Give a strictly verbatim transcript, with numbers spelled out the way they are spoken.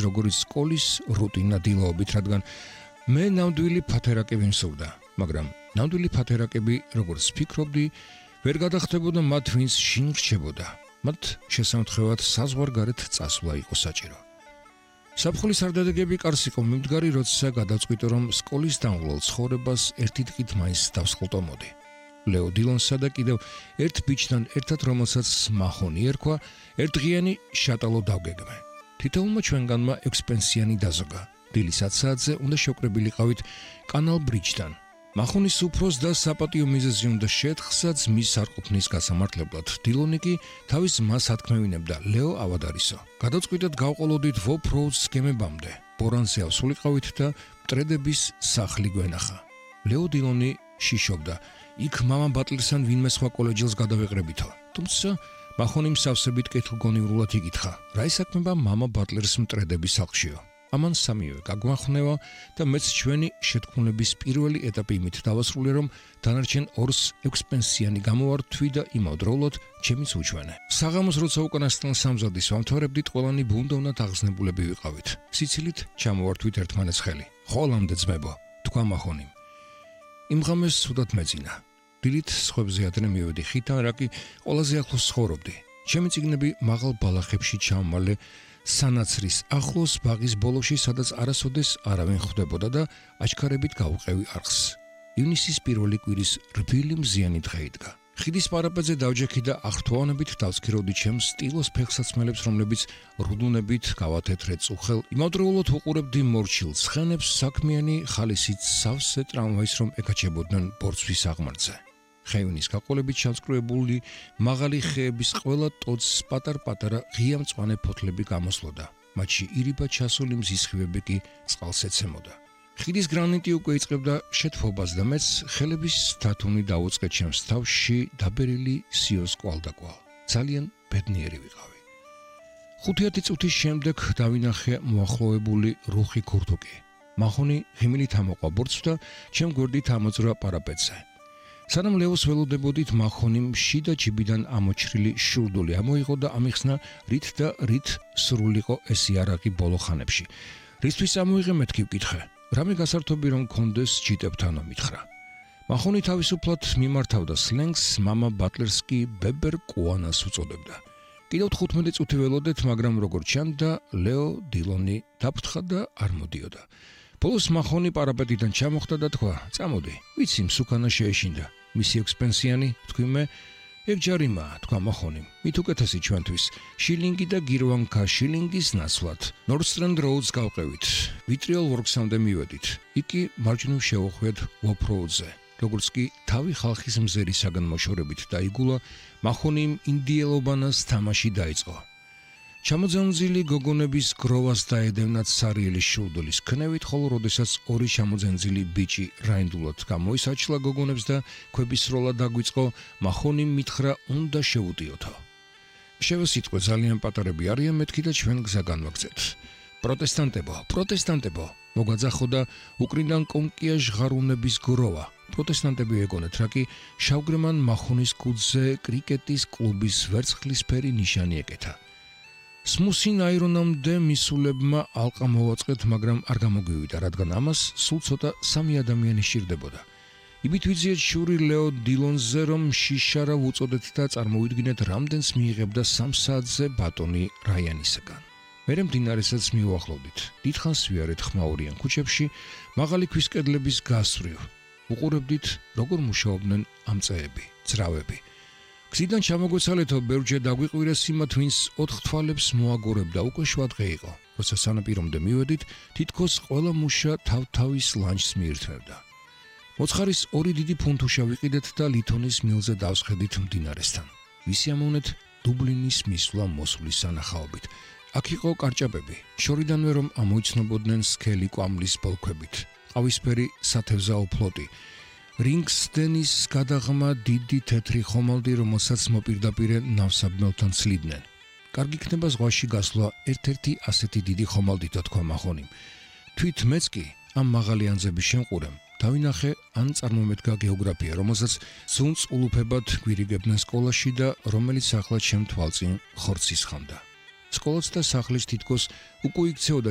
როგორც სკოლის რუტინა დილაობით, რადგან მე ნამდვილი ფათერაკები მსურდა, მაგრამ ნამდვილი ფათერაკები, როგორც ფიქრობდი, ვერ გადახდებოდა მათ, ვინც შინ რჩებოდა. მათ შესამთხვევად საზღვარგარეთ წასვლა იყო საჭირო. საფხულის არდადეგები კარს იყო მიმდგარი, როცა გადავწყვიტე, რომ სკოლის დამღლელ ცხოვრებას ერთი დღით მაინც დავსხლტომოდი. ლეო დილონსა და კიდევ ერთ ბიჭთან ერთად, რომელსაც მახონი ერქვა, ერთდღიანი შატალო დავგეგმე. თითოეულმა ჩვენგანმა ექვსპენსიანი დაზოგა. დილის ათ საათზე უნდა შევკრებილიყავით კანალ ბრიჯთან. მახონის უფროს და საპატიო მიზეზი უნდა შეეთხსა ძმის არყოფნის გასამართლებლად. დილონი კი თავის ძმას ათქმევინებდა, ლეო ავადარისო. გადავწყვიტეთ გავყოლოდით ვოფროუდს გემებამდე. ბორანზე ავსულიყავით და მტრედების სახლი გვენახა. ლეო დილონი შიშობდა. იქ მამა ბატლერსთან ვინმე სხვა კოლეჯელს გადავეყრებითო. თუმცა მახონი მსავსებით კეთილგონივრულად იკითხა, რა ისაქმება მამა ბატლერს მტრედების სახლშიო. ამან სამივე გაგვახნევა და მეც ჩვენი შეთქმულების პირველი ეტაპი იმით დავასრულე, რომ დანარჩენ ორს ექვსპენსიანი გამოვართვი და იმავდროულად ჩემიც უჩვენე. საღამოს როცა უკანასკნელ სამზადისს ვამთავრებდით, ყველანი ბუნდოვნად აღზნებულები ვიყავით. სიცილით ჩამოვართვით ერთმანეთს ხელი. ხოლამდე ძმებო, თქვა მახონიმ. იმ ღამეს ცუდად მეძინა. დილით სხვებზე ადრე მივედი ხითან, რა კი ყველაზე ახლოს ცხოვრობდი. ჩემი წიგნები მაღალ ბალახებში ჩამმალე სანაცრის ახლოს ბაღის ბოლოში, სადაც არასოდეს არავინ ხვდებოდა და აჩქარებით გავუყევი არხს. ივნისის პირველი კვირის რბილი მზიანი დღე იდგა. ხიდის პარაპეტზე დავჯექი და აღრთვაონებით დავსქირავდი ჩემს სტილოს ფეხსაცმელებს, რომლებიც რუდუნებით გავათეთრე წუხელ. იმავდროულად ვუყურებდი მორჩილ ცხენებს, საქმიანი ხალისით სავსე ტრამვაის, რომ ეკაჩებოდნენ ბორცვის აღმართზე. ხეივნის გაყოლებით ჩამსკრუებული მაღალი ხეების ყველა ტოტს პატარ-პატარა ღია მწვანე ფოთლები გამოსლოდა. მათში ირიბად ჩასული მზის ხივები კი წყალს ეცემოდა. ხიდის გრანიტი უკვე იწყებდა შეთფობას და მეც ხელების თათუნი დაუწყე ჩემს თავში დაბერილი სიოს კვალდაკვალ. ძალიან ბედნიერი ვიყავი. ხუთი წუთის შემდეგ დავინახე მოახლოებული რუხი ქურთუკი. მახონი ღიმილით ამოყვა ბორცვს და ჩემ გვერდით ამოძრა პარაპეტზე. სანამ ლეოს ველოდებოდით, მახონიმ შიდა ჯიბიდან ამოჩრილი შურდული ამოიღო და ამიხსნა, რით და რით სრულიყო ეს იარაღი ბოლო ხანებში. რისთვის ამოიღე, მეთქი ვკითხე. რამე გასართობი რომ მქონდეს ჯიტებთანო მითხრა. მახონი თავისუფლად მიმართავდა სლენგს, მამა ბატლერს კი ბებერ კუანას უწოდებდა. კიდევ თხუთმეტი წუთი ველოდეთ, მაგრამ როგორც ჩანდა, ლეო დილონი დაფრთხა და არ მოდიოდა. ბოლოს მახონი პარაპეტიდან ჩამოხდა და თქვა, წამოდი, ვიცი მსუქანა შეეშინდა. მისი ექვსპენსიანი, თქვი მე, ეგ ჯარიმაა, თქვა მახონიმ. მით უკეთესი ჩვენთვის, შილინგი და გირვანკა შილინგის ნაცვლად. ნორდსტრენდ როუდს გავყევით, ვიტრიოლ ვორქსამდე მივედით. იქ კი მარჯვნივ შევხვდეთ ვოფროუდზე. როგორც კი თავი ხალხის მზერისაგან მოშორებით დაიგულა, მახონიმ ინდიელობანას თამაში დაიწყო. ჩამოძენზილი გოგონების გროვას დაედევნათ სარიელი შურდულის ქნევით, ხოლო როდესაც ორი ჩამოძენზილი ბიჭი რაინდულად გამოისაჩლა გოგონებს და ქვებისროლა დაგვიწყო, მახონიმ მითხრა, უნდა შევუდიოთო. შევესიტყვე, ძალიან პატარები არიან, მეთქი და ჩვენ გზა განვაგზეთ. პროტესტანტებო, პროტესტანტებო, მოგაძახო და უკრინდან კონკია ჟღარუნების გროვა. პროტესტანტები ეგონეთ, რა კი შავგრემან მახონის კუდზე კრიკეტის კლუბის ვერცხლისფერი ნიშანი ეკეთა. სმუსინ აირონამდე მისულებმა ალყა მოვაწყეთ, მაგრამ არ გამოგვივიდა, რადგან ამას სულ ცოტა სამი ადამიანი სჭირდებოდა. იბით ვიძიეთ შური ლეო დილონზე, რომ შიშარა ვუწოდეთ და წარმოვიდგინეთ, რამდენს მიიღებდა სამ საათზე ბატონი რაიანისაგან. მერე მდინარესაც მივუახლოვდით. დიდხანს ვიარეთ ხმაურიან ქუჩებში, მაღალი ქვის კედლების გასწვრივ. უყურებდით, როგორ მუშაობდნენ ამწეები, ძრავები. გზიდან ჩამოგვეცალეთო, ბევრჯერ დაგვიყვირეს იმათ, ვინც ოთხ თვალებს მოაგორებდა, უკვე შვა დღე იყო. როცა სანაპირომდე მივედით, თითქოს ყველა მუშა თავ-თავის ლანჩს მიირთმევდა. მოცხარის ორი დიდი ფუნთუშა ვიყიდეთ და ლითონის მილზე დავსხედით მდინარესთან. ვისიამოვნეთ დუბლინის მისვლა მოსვლის სანახაობით. აქ იყო კარჭაპები, შორიდანვე რომ ამოიცნობოდნენ სქელი კვამლის ბოლქვებით, ყავისფერი სათევზაო ფლოტი. რინგსდენის გადაღმა დიდი თეთრი ხომალდი, რომელსაც მოპირდაპირე ნავსაბმელთან ცლიდნენ. კარგი იქნება ზღვაში გასვლა ერთ-ერთი ასეთი დიდი ხომალდით, თქვა მახონიმ. თვით მეც კი ამ მაღალი ანძების შემყურემ დავინახე ან წარმომედგა გეოგრაფია, რომელსაც ზუნწ ულუფებად გვირიგებდნენ სკოლაში და რომელიც ახლა ჩემ თვალწინ ხორცის ხამდა. სკოლაც და სახლის თითქოს უკვე იქცეოდა